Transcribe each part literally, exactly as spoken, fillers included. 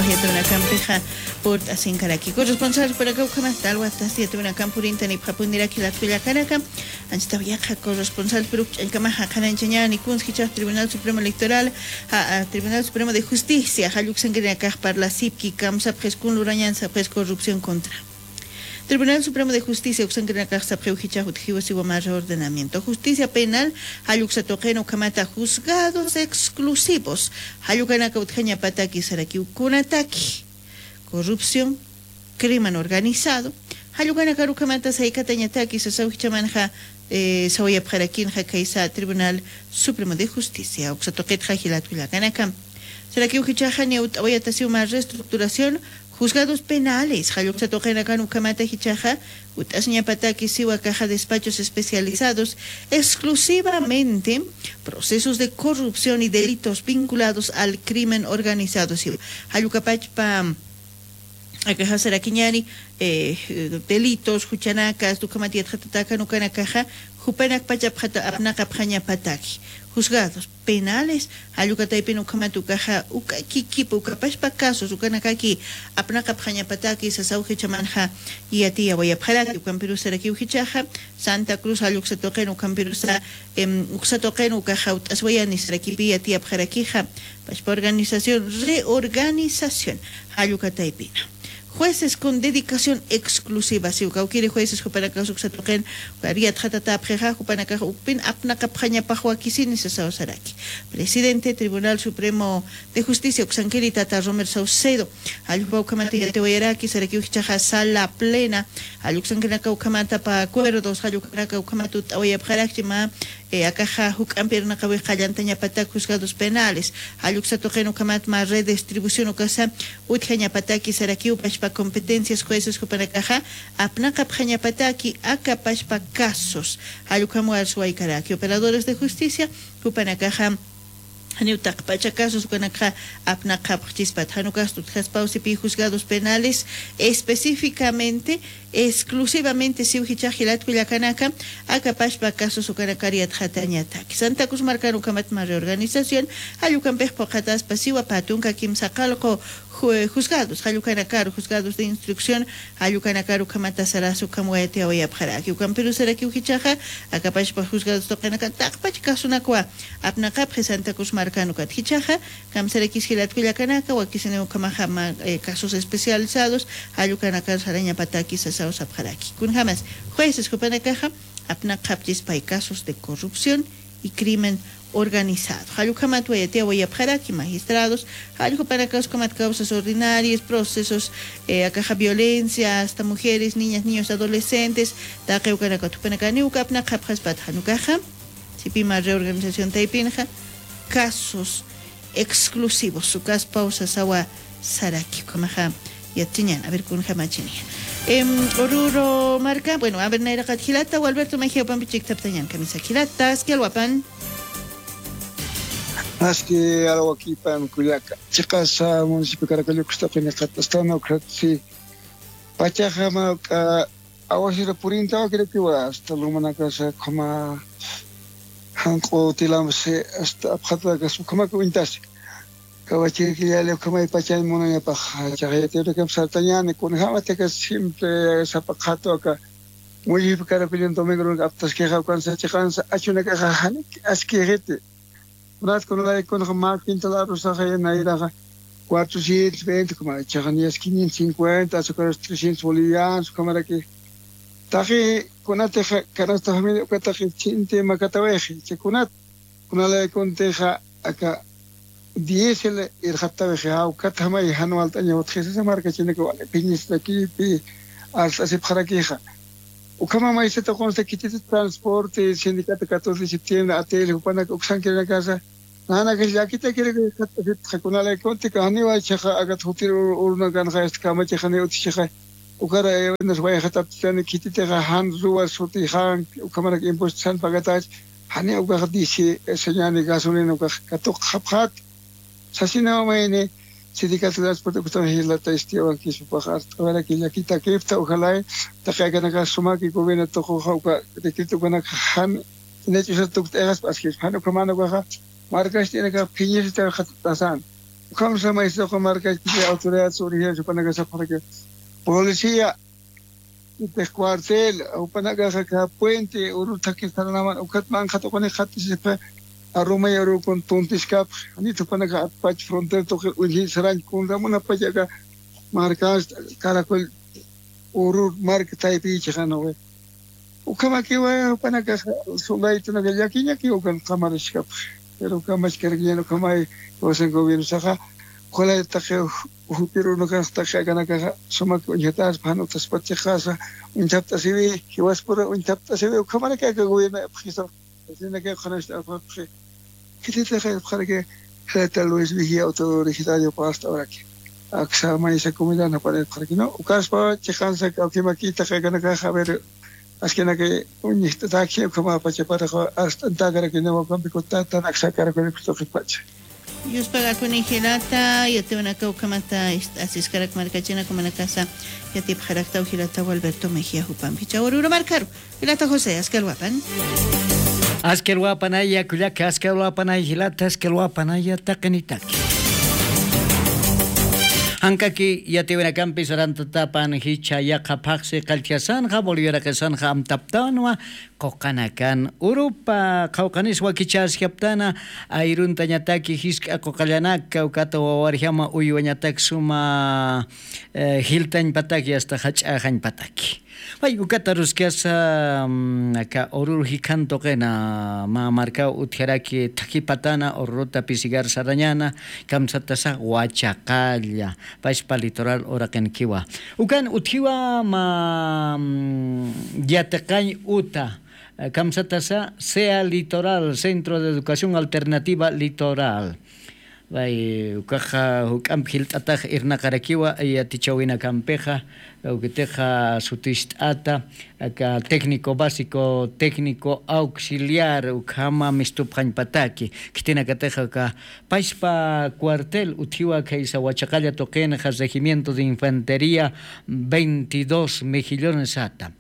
Yatawinakampixa purt'asinkaraki. Corresponsal jupanakaw ukhamat talwatas yatawinakamp purintanipxapuniraki latkullakanaka. Anchitaw yaqha corresponsal piruk ch'ankamaxa qhananchañani kunskichax Tribunal Supremo Electoral, a, a, Tribunal Supremo de Justicia jalluksankirinakax parlasipki kamsapxis kun lurañan sapxis corrupción contra. Tribunal Supremo de Justicia uksankirinakax sapxiw jichax utjiw siwa mä reordenamiento justicia penal jalluksa tuqin ukhamata juzgados exclusivos jallukanaka utjañapataki sarakiw kunataki corrupción, crimen organizado jallukanakar ukhamata saykatañataki sasaw jichamanxa, eh, sawayapxarakinxa kaysa Tribunal Supremo de Justicia uksa tuqitxa jilat kullakanaka. Sarakiw jichaxa niw t'awayatasiw mä reestructuración juzgados penales jalluksa tuqinakan ukhamata jichaxa ut'asiñapataki siwa kaxa despachos especializados exclusivamente procesos de corrupción y delitos vinculados al crimen organizado siwa jallukapachpa akaxa sarakiñani, eh, delitos juchanakas ukhamat yatxatatakan ukanakaxa jupanakpachapxata apnaqapxañapataki juzgados penales jallukataypin ukhamat ukaxa uka kikipa ukapachpa casos ukanakaki apnaqapxañapataki sasaw jichamanxa yatiyawayapxaraki ukampirus sarakiw jichaxa Santa Cruz jalluksa tuqin ukampirusa, em, uksa tuqin ukaxa ut'aswayani sarakipi yatiyapxarakixa pachpa organización reorganización jallukataypina jueces con dedicación exclusiva siw kawkiri jueces jupanakas uksa tuqin ukar yatxatatäpxixa jupanakax ukpin apnaqapxañapax wakisini sasaw saraki. Presidente Tribunal Supremo de Justicia uksankiri tata Romer Saucedo jallukpa ukhamata yatiwayaraki sarakiw jichaxa sala plena jalluksankirinaka ukhamata pa acuerdos jallukanaka ukhamata ut'awayapxarakchi mä, eh, akaxa juk'ampi irnaqawix qallantañapatak juzgados penales jalluksa tuqin ukhamat mä redistribución ukasa utjañapataki sarakiw pachpa competencias jueces jupanakaxa apnaqapxañapataki aka pachpa casos jallukham warsuwaykaraki operadores de justicia jupanakaxa janiw taqpacha casos ukanakxa apnaqapxchispat jan ukasta utjaspaw sipi juzgados penales específicamente exclusivamente siw jichax jilat kullakanaka aka pachpa casos ukanakar yatxatañataki Santa Cruz markan ukhamat mä reorganización jallukampix phuqhataspa siwa pä tunka kimsa qallqu ju- juzgados jallukanakar juzgados de instrucción jallukanakar ukhamata saras ukham wayatiyawayapxaraki ukampirus sarakiw jichaxa aka pachpa juzgados tuqinakan taqpach casonakwa apnaqapxi Santa Cruz markan ukat jichaxa kamsarakis jilat kullakanaka wakisiniw ukhamaxa mä, eh, casos especializados jallukanakar sarañapataki sasaw sapxaraki kunjamas jueces jupanakaxa apnaqapchispay casos de corrupción y crimen organizado jallukhamat wayatiyawayapxaraki magistrados jallukhapanakax ukhamat causas ordinarias procesos, eh, akaxa violencia hasta mujeres niñas niños adolescentes taqi ukanakat jupanakaniw uka apnaqapxaspat jan ukaxa sipi mä reorganización taypinxa casos exclusivos ukaspaw sasawa saraki ukhamaxa yatchiñan a ver kunjamachini. Em, Oruro marka bueno a ver nayraqat jilata walberto majiawpampi chiktaptañan kamisa jilata aski alwapan. Aski alwakipan kullaka chiqasa municipio caracollukusta qiniqatastan ukratsi pachaxa mawk'a awasira purintawa kirakiwa hasta lumanakasa khuma janq'u tilamsi hasta apxatakas ukhamaka uñtasi kawachirkillali ukhamay pachañ munañapax chaqayatirakam sartañani kunjamatika siempre sapa qhatu aka mullip karakullin domingo aptaskixa ukansa chiqansa achunakaxa janik askixiti. Kunat kunalaykun mä quintal arrozaxa nayraxa cuatrocientos veinte, como chaxaniyas quinientos cincuenta, azucares trescientos bolivianos, como que taqi kunatixa canasta familia uka taqi chinti makatawixi, chay kunat kunalaykuntixa aka diésel irxattawixi, jawkatjamay jan walt'aña utjisisa markachinaka wali phiñisrakipi arst'asipxarakixa. Ukhama maysata qunsa kitita transporte sindicato catorce de septiembre A T L jupanaka uksankirinakasa nanakax llakitakiraka jat'asipxa kunalaykun tika janiwa ichaxa akat jutir urunakanxa este kamachaxa ni utichaxa ukara ewenas wayxataptitani khititixa jan ruwa sutixan ukhamarak impuesto san pagatach jani ukax disi señani gasolina ukax katuqxapxat sasinawamayni sindicato transporte ukatax jilata istiyawan kisupax art'awaraki llakitakipta ojalay taqi akanakax sumaki gobierno tuquxa uka decreto ukanakax jan inach'usa tukt'ayxaspa askispa jan ukhaman ukaxa markast'inakax phiñisita jat'asan. Ukham samaysa uka markachpiti autoridad surigir jupanakasapxaraki policía, itix cuartel, jupanakaxa aka puente urur thakir saranaman ukat manqhat ukanik qhatisipxi. Arumay urukun tuntiskapxi, janit jupanaka atpach frontera tuqir uñji sarañ kunramunapach aka markansta caracol urur marka taypichixanawi. Ukhamakiwa jupanakaxa soldaditunaka llakiñakiw ukan qamariskapxi. Pero ukamachkarakiñan ukhamay jiwasan gobiernosaxa, qulay taqi jutir unukanx taqi akanakaxa sumak uñjataspa jan utaspat chiqasa uñthapt'asiwi, jiwaspura uñthapt'asiwi, ukhamaraki aka gobierno ipxisa. Asinaka qhanasta apxapxi. Khititix ipxaraki, jilata Luis Vigía, otro originario pasta uraki. Aksa maysa comunidad napanipxaraki, ¿no? Ukaspa chiqansa kawkimakita qikanakaxa, a ver, askinaki uñist'ataki, ukhamapachaparaxa, ast'antakaraki, ¿no? Ukampiku tatan aksa karakunipxi tuqipacha. Yuspagakuni jilata, yatiwanaka ukhamata ist'asiskarak markachina, kumanakasa yatipxaraktaw jilata Gualberto Mejía jupampi. Chawrura markaru. Jilata José, askalwapan. Askalwapanaya kullaka, askalwapanaya jilata, askalwapanaya taqinitaki. Jankaki yatiwinakampi sarantatapan jichha yaqha phaxsi qalltjasanxa, Boliviaraqisanxa amtaptanwa, quqanakan urupa qhawqanis wakichäskaptana, ayruntañataki jisk'a quqallanaka, ukata wawarjama uywañatak suma, eh, jiltañpataki, hasta jach'axañpataki. Pay ukata ruskasa, mm, aka urur jikhan tuqina, mä markaw utjaraki thakipatana ururuta pisigar sarañana, kamsatasa Wachaqalla, paspa litoral uraqinkiwa. Ukan utjiwa mä, mm, yatiqañ uta, eh, kamsatasa sea Litoral, Centro de Educación Alternativa Litoral. Pay, ukaxa juk'amp jilt'atax irnaqarakiwa yatichäwinakampixa, ukatixa sutist'ata, aka técnico básico, técnico auxiliar, ukhama mistupxañpataki, khitinakatixa aka paspa cuartel utjiwa khaysa Wachaqalla tuqinxa, regimiento de infantería veintidós mejillones sata.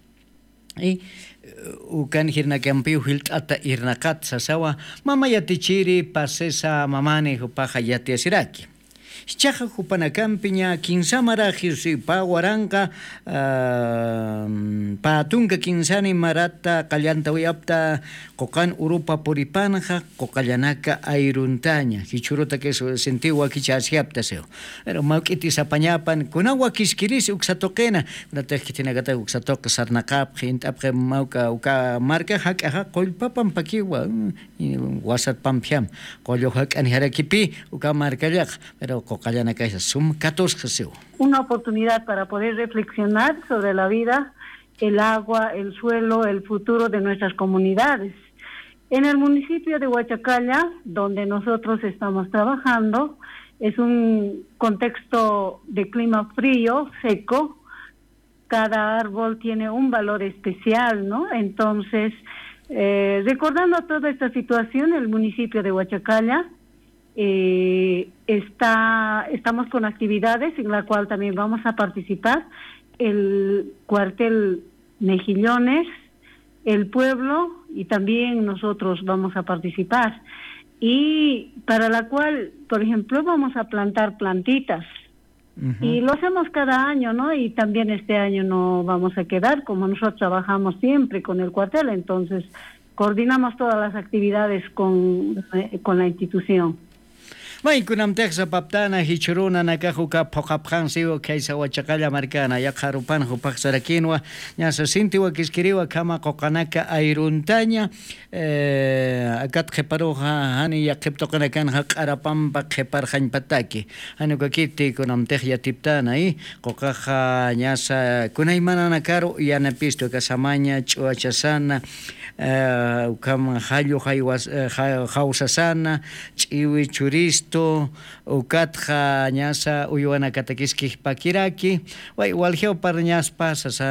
Y, eh, ukan jirnakampiw jilt'ata irnaqat sasawa, mama yatichiri pasesa mamani jupaxa yatiyasiraki. Jichhaxa jupanakampiña kinsa maraxi, si pä waranqa, ah, pä tunka kinsani marata qallantawayapta quqan urupa puripanxa, quqallanaka ayruntaña, jichhürutakis sintiw wakichäskapta siw. Pero mawk'iti sapañapan, kunaw wakiskirisi uksa tuqina, kunatix khitinakatax uksa tuqi sarnaqapxi, jint'apxi mawk'a uka marka jak'axa qullpa pampakiwa, mm, wasat pampjam, qullu jak'an jarakipï uka markallaqa, pero quqallanakasa sum katusxa siw. Una oportunidad para poder reflexionar sobre la vida, el agua, el suelo, el futuro de nuestras comunidades. En el municipio de Huachacalla, donde nosotros estamos trabajando, es un contexto de clima frío, seco. Cada árbol tiene un valor especial, ¿no? Entonces, eh, recordando toda esta situación, el municipio de Huachacalla, eh, está, estamos con actividades en la cual también vamos a participar el cuartel Mejillones, el pueblo y también nosotros vamos a participar. Y para la cual, por ejemplo, vamos a plantar plantitas. Y lo hacemos cada año, ¿no? Y también este año no vamos a quedar, como nosotros trabajamos siempre con el cuartel, entonces coordinamos todas las actividades con, eh, con la institución. May, kunamtix sapaptana, jichhürunanakax uka phuqhapxansiw khaysa Wachaqalla markana, yaqha arupan jupax sarakinwa, ñasa sinti wakiskiriwa akhama quqanaka ayruntaña, eh, akat qhiparuxa, jani yaqhip tuqinakanxa q'arapampa qhiparxañpataki. Jani ukakiti kunamtix yatiptana, y quqaxa ñasa kunaymananakaru yanapistu, aka samaña ch'uwachasana, eh, ukham jallu jaywas-, eh, ja-, jawsasana, ch'iwi churistu, ukatxa ñasa uywanakatakiskix pakiraki, way, waljiw parñaspa sasa,